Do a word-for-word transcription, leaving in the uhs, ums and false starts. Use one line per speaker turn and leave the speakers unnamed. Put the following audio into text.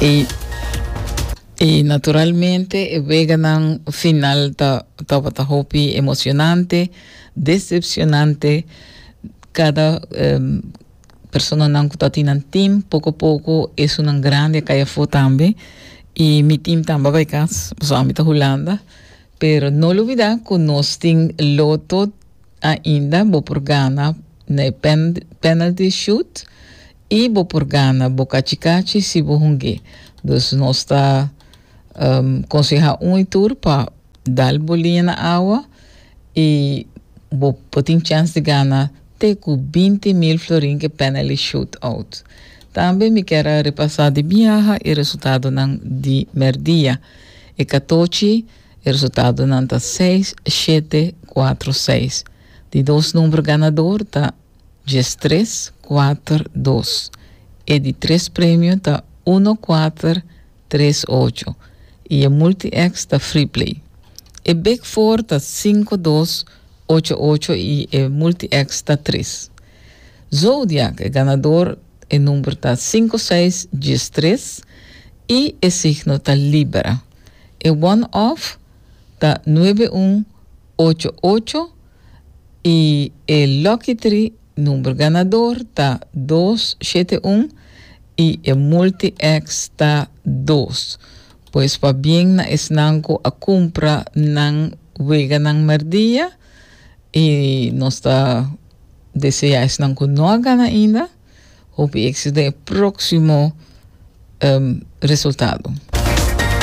I, i naturalmente e weganan final ta tabata hopi emoshonante, desepshonante. Kada um, personanan ku tabatin nan team, poko poko esunnan grandi a kai afó tambe. I mi team tambe a bai kas, so ami ta Hulanda. Pero no lubidá ku nos tin Lotto ainda, bo por gana na pen, penalty shoot i bo por gana bo kachikachi si bo hunga. Dus nos ta um, konsehá un i tur pa dal bo liña na awa i bo por tin chèns di gana te ku binti mil florin ku penalty shootout. Tambe mi ke repasá di biaha e resultadonan di mèrdia. E katochi, e resultadonan ta seis, shete, kuater, seis. Di dos number ganadó ta tres, kuater, dos. E di tres premio ta un, kuater, tres, ocho. I e multi-X ta free play. E Big Four ta sinku, dos, ocho, ocho i e multi-X ta tres. Zodiac, e ganadó, e number ta sinku, seis, tres i e signo ta Libra. E one-off ta nuebe, un, ocho, ocho i e Lucky Three number ganadó ta dos, shete, un i e multi-X ta dos. Pues pabien na esnan ku a kumpra nan weganan mèrdia i nos ta deseá esnan ku no a gana ainda hopi éksito den próksimo um, resultado.